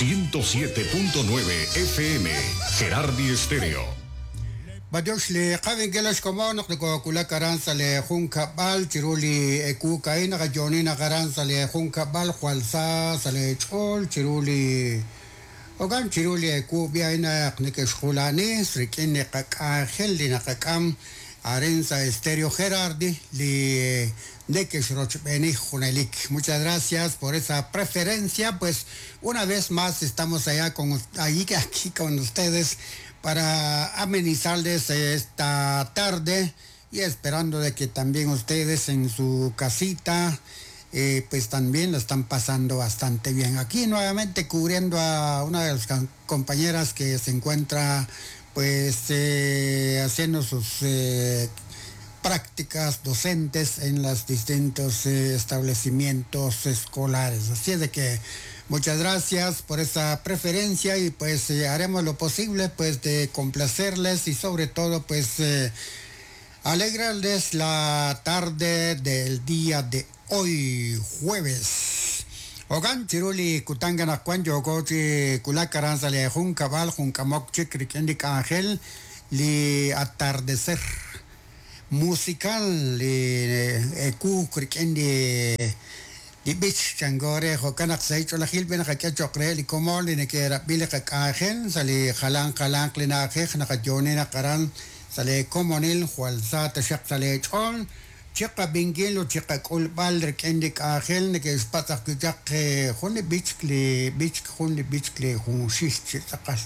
107.9 FM, Gerardi Estéreo. B'antiox li qavinkil xkomon naq nokowulak aran sa' li junkab'al chiru li ewu a'in naqayo'oni naq aran sa' li junkab'al jwal sa sa' li ch'ool chiru li ogan chiru li ewu b'i a'in naq neke'xjulani rik'in li qak'anjel li naqak'am arin sa' Estéreo Gerardi li neke'xrochb'eeni junelik. Muchas gracias por esa preferencia. Pues una vez más estamos allá con ahí aquí con ustedes para amenizarles esta tarde y esperando de que también ustedes en su casita pues también lo están pasando bastante bien. Aquí nuevamente cubriendo a una de las compañeras que se encuentra pues haciendo sus prácticas docentes en los distintos establecimientos escolares. Así es de que muchas gracias por esa preferencia y pues haremos lo posible pues de complacerles y sobre todo pues alegrarles la tarde del día de hoy, jueves. Ogan chiru li kutan anaqwan yooko chi wulak aran sa' li junkab'al junk'amok chik rik'in li k'anjel li atardecer musical li ewu rik'in li li b'ich chanko re jo'kan naq sa' ch'oolejil b'e naqak'e cho'q re li komon li neke'rab'i li qak'anjel sa' li jalan jalanq li na'ajej naqayo'oni naq aran sa' li komonil jwal sa taxaq sa' li ch'ool chiqab'inkil ut chiqak'ulb'al rik'in li k'anjel neke'xpatz' ajwi' chaq jun li b'ich li b'ich jun li b'ich li junxil chi tz'aqal.